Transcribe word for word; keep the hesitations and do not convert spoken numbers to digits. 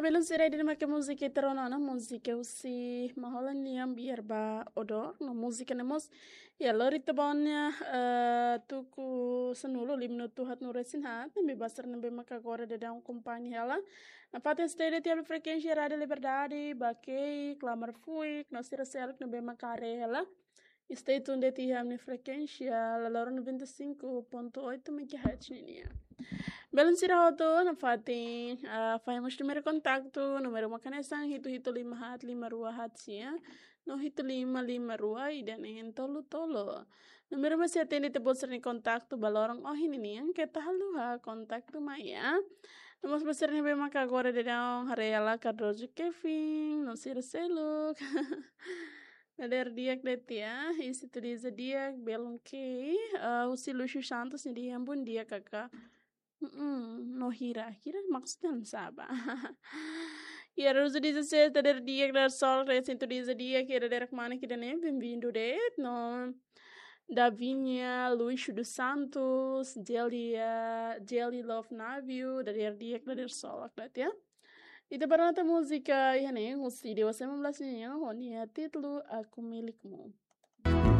Belun sira, ida-ne'e mak múzika ita rona ona, múzika husi Mahola nian, Biar Ba Odor, no múzika ne'e mós iha lori ita-boot nia, eh, tuku sanulu, lima minutu haat-nulu resin haat, ne'ebé ba sira ne'ebé maka agora daudaun akompaña hela. Nafatin stay de'it iha frekuénsia Rádio Liberdade, Bakeik, Klamar Fuik, no sira seluk ne'ebé maka haree hela. Stay tuned de'it iha ami-nia frekuénsia, la loron noventa e cinco ponto oito megahertz ninian. Belun sira hotu, nafatin, ah, fahe mós númeru kontaktu, númeru mak hanesan hitu hitu lima haat lima rua haat sia, no hitu lima lima rua ida neen tolu tolu. Númeru mak sei atende ita-boot sira-nia kontaktu ba loron ohin ninian, keta haluha kontaktu mai, ya. No mós ba sira ne'ebé maka agora daudaun haree hela Cardoso Kevin, no sira seluk. Dadeer di'ak de'it, ya, iha Sintonia Di'ak, belun kei, ah, husi Lucio Santos, nia dehan bom dia, Kaká. Mm-mm, no hira, hira maksudnya sá ba. Iha Rosa dezasseis, dadeer di'ak, dadeer solok, dadeer Sintonia Di'ak, iha dadeer kmanek ida-ne'e, bem-vindo de'it, no Davinha Luis dos Santos, Jelly, eh, Jelly Love Navio, dadeer di'ak, dadeer solok de'it, ya. Ita bá rona tan múzika iha ne'e, husi Dewa sembilan belas nian, ho nia títulu Aku Milikmu.